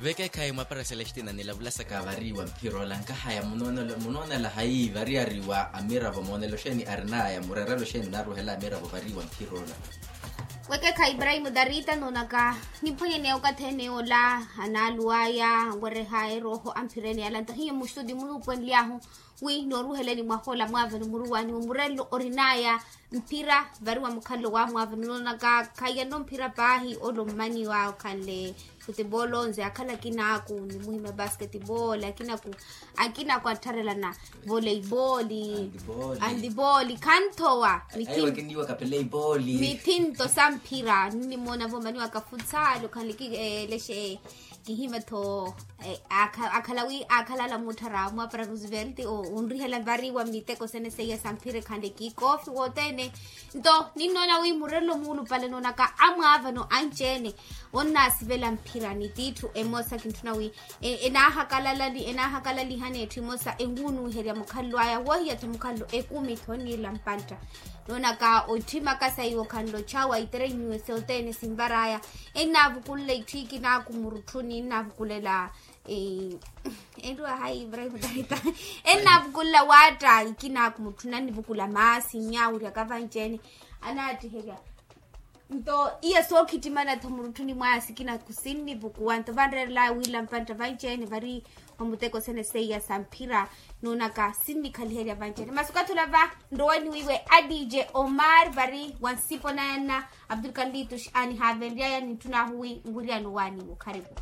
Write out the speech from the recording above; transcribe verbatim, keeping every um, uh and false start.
Vekekhayi mwapara celestina nilavulasaka variwa mphira ola nkahaya munoonela hayi variyariwa amiravo moonela oxeeni arinaya murerela oxeeni naruhela amiravo variwa mphira ola. Wekekhayi ibrahimu darita noonaka, nimphwanyeneya okathi ene ola anaaluwaya anwerehaya erooho amphira ene yala nto hiyo muxuti munuupwenly'ahu wi nooruheleni mwaha ola mwaavani muruwani mumurelo orinaya mphira variwa mukhanlo wa mwaavani noonaka khaiyano mphira paahi olo mmaniwa okhanle futebolo nze akhala akinaaku nimuhimya basketball akinaaku akinaaku attharelana voleiboli andiboli khanthowa mithinto sa mphira ninnimoona voomaniwaka futsal okhanle kilexe kihima tho akhala wi akhalala muttharaawo mwapara roosevelt onrihela variwa miteko sene seiya sa mphira ekhanle kikofi wothene nto ninnoona wi murelo muulupale noonaka amwaavano anci-ene onnaasivela mphira ni tiitthu emosa kintthuna wi enaahakalali enaahakalaliha n'etthu emosa enwunuuherya mukhallo aya wohiya-tho mukhallo ekumi tho onniirela mpantta noonaka otthimaka saiwe okhanle ochawa iterenyuwe sothene sinvaraya ennaavukulela itthu ikinaaku murutthuni ennaavukulela enriwa hayi ibrahimu tarita ennaavukulela waatta ikinaaku mutthuni annivukula maasi nnyaawiryaka vanci-ene anaattiherya nto iya sookhittimana-tho murutthuni mwaya sikinaaku sinnivukuwa nto vanreerelaya wiila mpantta vanci-ene vari omuteko sene seiya sa mphira noonaka sinnikhaliherya vanci-ene masi okathi ola va nrowani wiiwe adije omar vari wa nsipo nayanna abdulkalitus anihaavenryaya nintthun'ahu wi nwiriyano waaniiwe okhariku